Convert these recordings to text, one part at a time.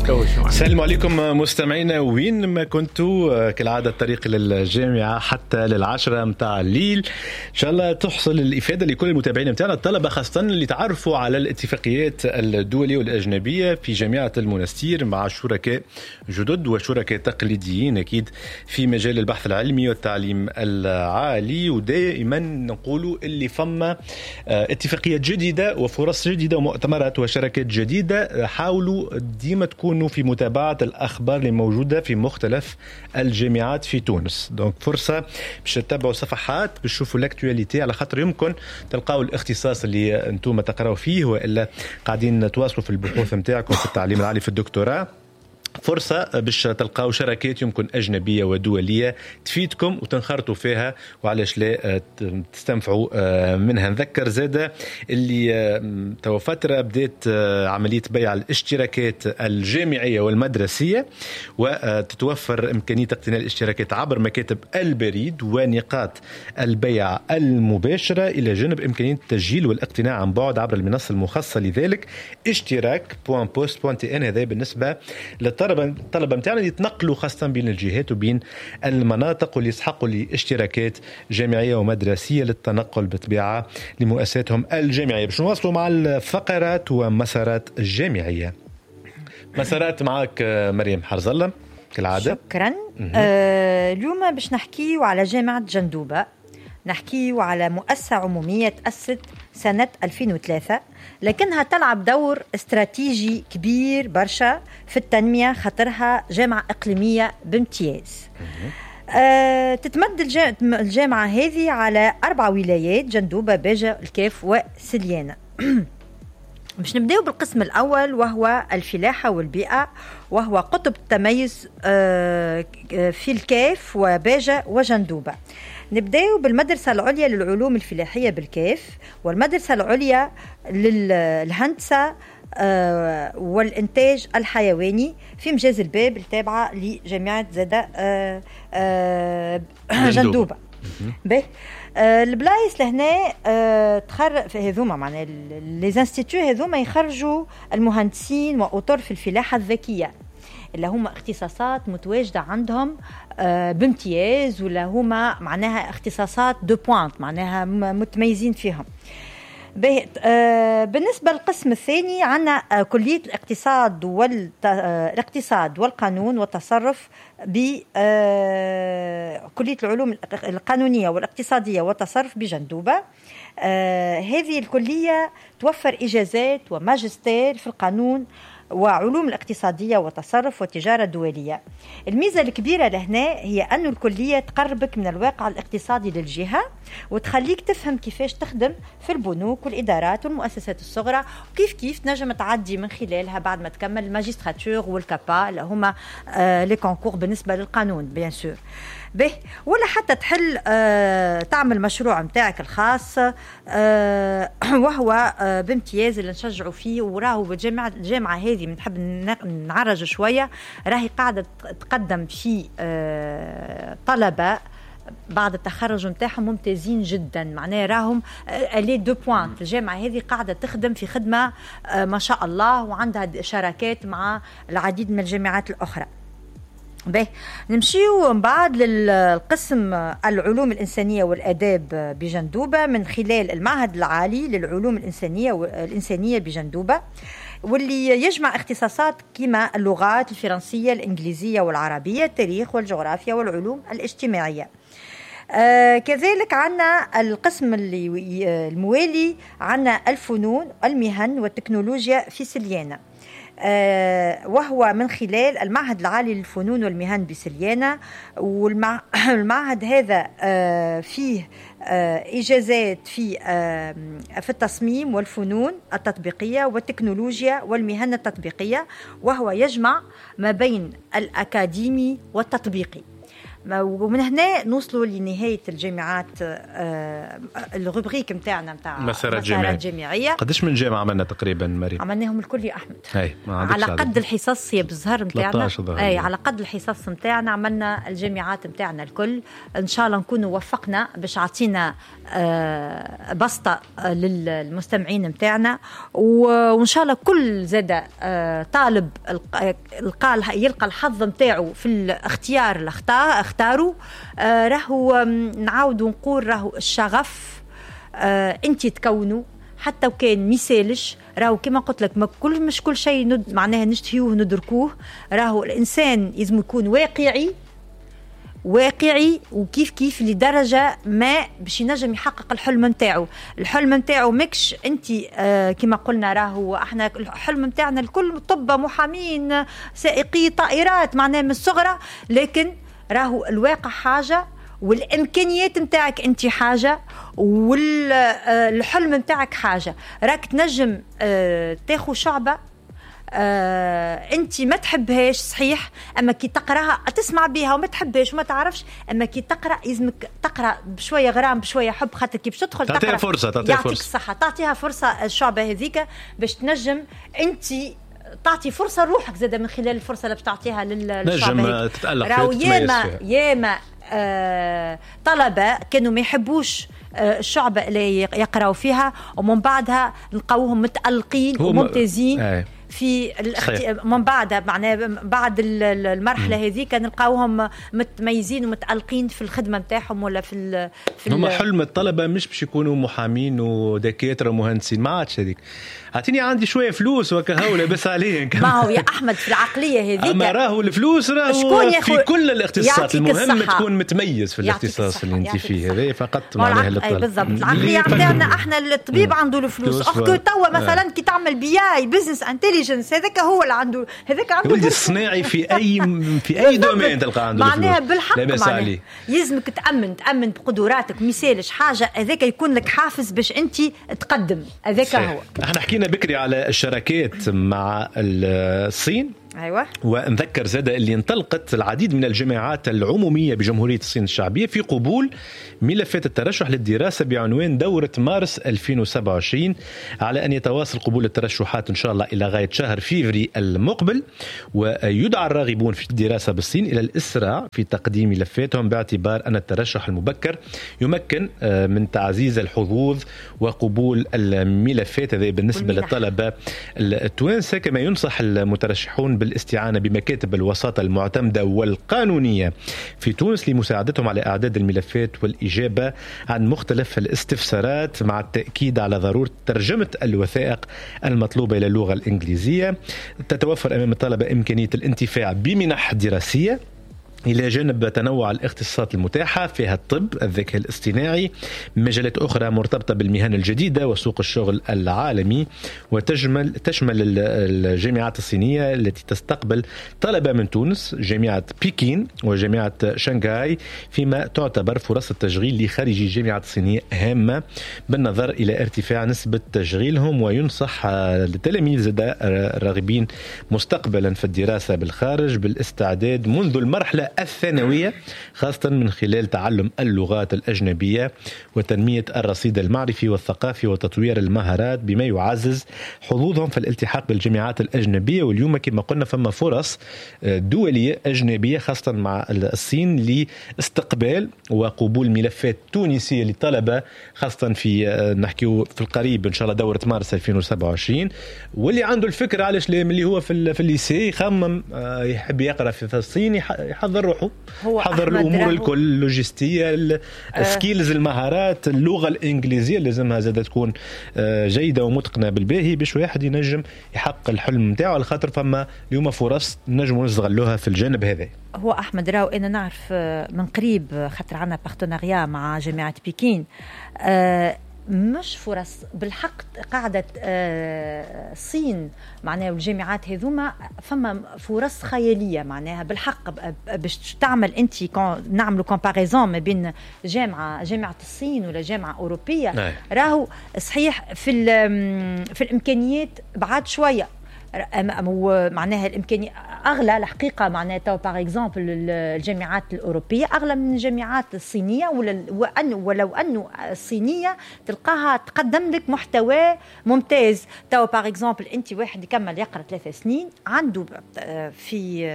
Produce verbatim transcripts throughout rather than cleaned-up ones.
السلام عليكم مستمعينا وين ما كنتوا، كالعادة الطريق للجامعة حتى للعشرة متاع الليل. إن شاء الله تحصل الإفادة لكل المتابعين متاعنا الطلبة، خاصة اللي تعرفوا على الاتفاقيات الدولية والأجنبية في جامعة المنستير مع شركاء جدد وشركاء تقليديين أكيد في مجال البحث العلمي والتعليم العالي. ودائما نقولوا اللي فما اتفاقيات جديدة وفرص جديدة ومؤتمرات وشركات جديدة، حاولوا ديما تكونوا في متابعة الأخبار اللي موجودة في مختلف الجامعات في تونس. donc فرصة باش تتبعوا صفحات، باش تشوفوا l'actualité، على خاطر يمكن تلقاو الاختصاص اللي انتم تقراو فيه والا قاعدين تواصلوا في البحوث نتاعكم في التعليم العالي في الدكتوراه. فرصة باش تلقاو شراكات يمكن أجنبية ودولية تفيدكم وتنخرطوا فيها، وعلاش لا تستنفعوا منها. نذكر زادة اللي توا فترة بدات عملية بيع الاشتراكات الجامعية والمدرسية، وتتوفر إمكانية اقتناء الاشتراكات عبر مكاتب البريد ونقاط البيع المباشرة، إلى جانب إمكانية التسجيل والاقتناء عن بعد عبر المنصة المخصصة لذلك اشتراك point poste point tn. هذا بالنسبة للطلبة الطلبة نتاعنا اللي يتنقلوا خاصة بين الجهات وبين المناطق واللي يسحقوا لاشتراكات جامعية ومدرسيه للتنقل بالطبيعة لمؤسساتهم الجامعية. باش نواصلوا مع الفقرات ومسارات الجامعية. مسارات معك مريم حرز الله كالعادة. شكرا. آه اليوم باش نحكيو على جامعه جندوبه، نحكيو على مؤسسة عمومية تأسست سنة ألفين وثلاثة، لكنها تلعب دور استراتيجي كبير برشا في التنمية، خاطرها جامعة إقليمية بامتياز. أه تتمد الجامعة هذه على أربع ولايات: جندوبة، باجة، الكاف وسليانة. باش نبداو بالقسم الأول وهو الفلاحة والبيئة، وهو قطب التميز أه في الكاف وباجة وجندوبة. نبداو بالمدرسة العليا للعلوم الفلاحية بالكاف، والمدرسة العليا للهندسة والإنتاج الحيواني في مجاز الباب التابعة لجامعة زادة جندوبة. به البلايص لهنا تخر هذوما معناها les instituts هذوما يخرجوا المهندسين وأطر في الفلاحة الذكية، اللي هما اختصاصات متواجدة عندهم بامتياز، ولا هما معناها اختصاصات de pointe، معناها متميزين فيهم. بالنسبة للقسم الثاني عندنا كلية الاقتصاد والاقتصاد والقانون والتصرف بكلية العلوم القانونية والاقتصادية والتصرف بجندوبة. هذه الكلية توفر إجازات وماجستير في القانون وعلوم الاقتصادية والتصرف والتجارة الدولية. الميزة الكبيرة لهنا هي أن الكلية تقربك من الواقع الاقتصادي للجهة وتخليك تفهم كيفاش تخدم في البنوك والإدارات والمؤسسات الصغرى، وكيف كيف تنجم تعدي من خلالها بعد ما تكمل ال magistrature وال CAPA اللي هما آه les concours بالنسبة للقانون bien sûr به، ولا حتى تحل آه تعمل مشروع متاعك الخاص آه وهو آه بامتياز اللي نشجعوا فيه. وراهو بالجامعة الجامعة هذه بنحب نعرج شوية، راهي قاعدة تقدم في آه طلبة بعد التخرج نتاعهم ممتازين جدا، معناها راهم les de pointe. الجامعة هذه قاعدة تخدم في خدمة آه ما شاء الله، وعندها شراكات مع العديد من الجامعات الأخرى. به نمشيو من بعد للقسم العلوم الإنسانية والآداب بجندوبة من خلال المعهد العالي للعلوم الإنسانية والإنسانية بجندوبة، واللي يجمع اختصاصات كما اللغات الفرنسية، الإنجليزية والعربية، التاريخ والجغرافيا والعلوم الاجتماعية. آه كذلك عنا القسم اللي الموالي عنا الفنون المهن والتكنولوجيا في سليانة، وهو من خلال المعهد العالي للفنون والمهن بسليانة. والمعهد هذا فيه إجازات في في التصميم والفنون التطبيقية والتكنولوجيا والمهن التطبيقية، وهو يجمع ما بين الأكاديمي والتطبيقي. ومن هنا نوصلوا لنهاية الجامعات، آه ال rubrique نتاعنا نتاع مسارات جامعية. قداش من جامعه عملنا تقريبا مريم؟ عملناهم الكل يا احمد. أي على قد الحصص يا بالزهر نتاعنا، اي على قد الحصص نتاعنا عملنا الجامعات نتاعنا الكل. ان شاء الله نكونوا وفقنا باش عطينا آه بسطه للمستمعين نتاعنا، وان شاء الله كل زاد آه طالب القى يلقى الحظ نتاعو في الاختيار اللي اختاروا. آه راهو نعاودوا نقول راهو الشغف آه انت تكونوا حتى وكان ميسالش، راهو كما قلت لك ما كل مش كل شيء ند معناها نشتهيوه ندركوه. راهو الانسان لازم يكون واقعي واقعي وكيف كيف لدرجة ما باش ينجم يحقق الحلم نتاعو. الحلم نتاعو ماكش انت آه كما قلنا راهو احنا الحلم نتاعنا الكل طب، محامين، سائقي طائرات، معناها من الصغرى، لكن راهو الواقع حاجة والامكانيات نتاعك انت حاجة والحلم نتاعك حاجة. راك تنجم آه تاخو شعبه آه، انت ما تحبهاش صحيح، اما كي تقراها تسمع بها وما تحبهاش وما تعرفش، اما كي تقرا لازمك تقرا بشوية غرام بشوية حب، خاطر كي باش تدخل تعطيها فرصة، تعطيها فرصة، يعطيك الصحة، تعطيها فرصة الشعبة هذيك باش تنجم انت تعطي فرصة لروحك زاده من خلال الفرصة اللي باش تعطيها للشعبه. نجم تتالق فيها، ياما ياما آه طلبه كانوا ما يحبوش الشعبة اللي يقراوا فيها ومن بعدها نلقاوهم متألقين وممتازين آه. في الاخت... من بعدها معناها بعد المرحلة هذيك نلقاوهم متميزين ومتألقين في الخدمة نتاعهم ولا في ال... في هما حلم الطلبة مش باش يكونوا محامين ودكاترة ومهندسين، ما عادش هذيك. اعطيني عندي شوية فلوس وكهو لاباس عليه. ما هو يا احمد في العقلية هذيك، اما راهو الفلوس راهو في كل الاختصاصات، المهم تكون متميز في الاختصاص اللي انت فيه، هذا فقط معناها للطالب. بالضبط العقلية نتاعنا احنا الطبيب عنده الفلوس، اخ توا مثلا كي تعمل BI business intelligence هذاك هو اللي عنده، هذاك عنده ولد الصناعي في اي في اي domaine تلقى عنده معناها بالحق، معناها يلزمك تامن تامن بقدراتك، مثالش حاجة هذاك يكون لك حافز باش انت تقدم، هذاك هو. احنا حكينا بكري على الشراكات مع الصين، أيوة. ونذكر زادة اللي انطلقت العديد من الجامعات العمومية بجمهورية الصين الشعبية في قبول ملفات الترشح للدراسة بعنوان دورة مارس ألفين وسبعة وعشرين، على أن يتواصل قبول الترشحات إن شاء الله إلى غاية شهر فيفري المقبل. ويدعى الراغبون في الدراسة بالصين إلى الإسراع في تقديم ملفاتهم، باعتبار أن الترشح المبكر يمكن من تعزيز الحظوظ وقبول الملفات. هذا بالنسبة للطلبة التوانسة. كما ينصح المترشحون بالاستعانة بمكاتب الوساطة المعتمدة والقانونية في تونس لمساعدتهم على إعداد الملفات والإجابة عن مختلف الاستفسارات، مع التأكيد على ضرورة ترجمة الوثائق المطلوبة إلى اللغة الإنجليزية. تتوفر أمام الطلبة إمكانية الانتفاع بمنح دراسية إلى جانب تنوع الاختصاصات المتاحة فيها الطب، الذكاء الاصطناعي، مجالات أخرى مرتبطة بالمهن الجديدة وسوق الشغل العالمي. وتشمل تشمل الجامعات الصينية التي تستقبل طلبة من تونس جامعة بكين وجامعة شنغهاي، فيما تعتبر فرص التشغيل لخريجي الجامعات الصينية هامة بالنظر إلى ارتفاع نسبة تشغيلهم. وينصح التلاميذ الراغبين مستقبلا في الدراسة بالخارج بالاستعداد منذ المرحلة الثانوية، خاصة من خلال تعلم اللغات الأجنبية وتنمية الرصيد المعرفي والثقافي وتطوير المهارات، بما يعزز حظوظهم في الالتحاق بالجامعات الأجنبية. واليوم كما قلنا فما فرص دولية أجنبية خاصة مع الصين لاستقبال وقبول ملفات تونسية للطلبة، خاصة في نحكيو في القريب إن شاء الله دورة مارس ألفين وسبعة وعشرين. واللي عنده الفكرة علاش اللي هو في في ال lycée يخمم يحب يقرأ في الصين يحضر روحه، حضر الامور الكل، اللوجستية، ال skills، المهارات، اللغة الانجليزية لازمها زادة تكون جيدة ومتقنه بالباهي باش واحد ينجم يحقق الحلم نتاعو، على خاطر فما اليوم فرص نجموا نستغلوها في الجانب هذا. هو احمد راهو انا نعرف من قريب خاطر عندنا partenariat مع جامعه بكين، أه مش فرص بالحق قاعدة الصين معناها والجامعات هذوما فما فرص خيالية معناها بالحق باش تعمل انت نعملوا comparaison ما بين جامعة جامعة الصين ولا جامعة أوروبية. نعم. راهو صحيح في في الإمكانيات بعد شوية، معناها الإمكانية اغلى الحقيقه. معناتها par exemple الجامعات الاوروبية اغلى من الجامعات الصينيه، وأن ولو انه الصينية تلقاها تقدم لك محتوى ممتاز. تو par exemple انت واحد يكمل يقرا ثلاث سنين عنده في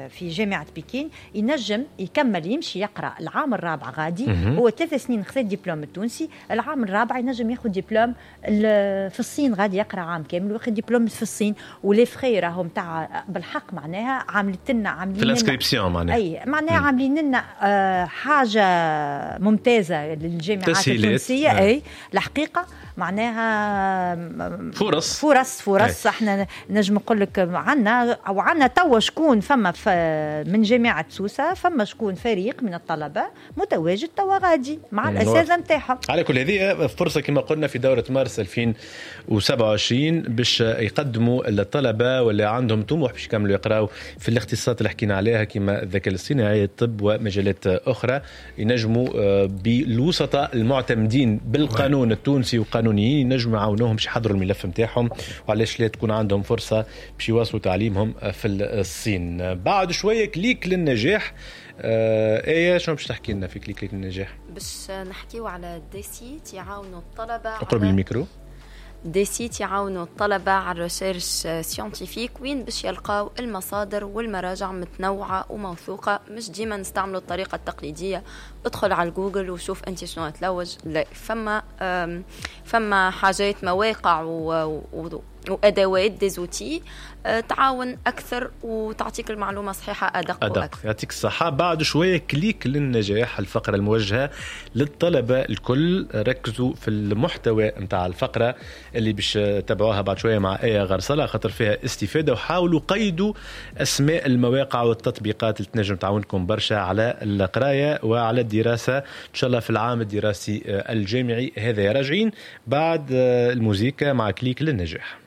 في جامعه بكين، ينجم يكمل يمشي يقرا العام الرابع غادي. هو ثلاث سنين خذ دبلوم التونسي، العام الرابع ينجم ياخذ دبلوم في الصين غادي، يقرا عام كامل وياخذ دبلوم في الصين. و les frais راهم تاع بالحق معناها عاملت لنا عاملين في l'inscription معناها. اي، معناها عاملين لنا آه، حاجة ممتازة للجامعات التونسيه آه. اي الحقيقة معناها فرص. فرص فرص. احنا نجم نقول لك عندنا او عندنا توا شكون فما من جامعه سوسه، فما شكون فريق من الطلبة متواجد توا غادي مع الاساتذة نتاعهم. على كل هذه فرصة كما قلنا في دوره مارس ألفين وسبعة وعشرين باش يقدموا الطلبة واللي عندهم طموح باش يكملوا يقراوا في الاختصاصات اللي حكينا عليها كما الذكاء الاصطناعي، الطب ومجالات اخرى، ينجموا آه، بالوسطاء المعتمدين بالقانون التونسي وقانونيين ينجموا يعاونوهم باش يحضروا الملف نتاعهم، وعلاش لا تكون عندهم فرصة باش يواصلوا تعليمهم في الصين. بعد شوية clic للنجاح. آه ايه، شنو باش تحكي لنا في clic للنجاح؟ باش نحكيو على des sites يعاونوا الطلبه. اقرب الميكرو. des sites يعاونوا الطلبة على ال recherche scientifique، وين باش يلقاو المصادر والمراجع متنوعة وموثوقة. مش ديما نستعملوا الطريقة التقليدية، ادخل على جوجل وشوف انت شنو تلوج. لا، فما فما حاجات، مواقع و, و وادوات، des outils آه، تعاون اكثر وتعطيك المعلومة صحيحه ادق. أدق. واكثر. يعطيك الصحه. بعد شوية clic للنجاح، الفقرة الموجهة للطلبة الكل. ركزوا في المحتوى نتاع الفقرة اللي باش تتابعوها بعد شوية مع ايه غرسله، خاطر فيها استفاده، وحاولوا قيدوا اسماء المواقع والتطبيقات اللي تنجم تعاونكم برشا على القراية وعلى الدراسة ان شاء الله في العام الدراسي الجامعي هذا. راجعين بعد الموزيكا مع clic للنجاح.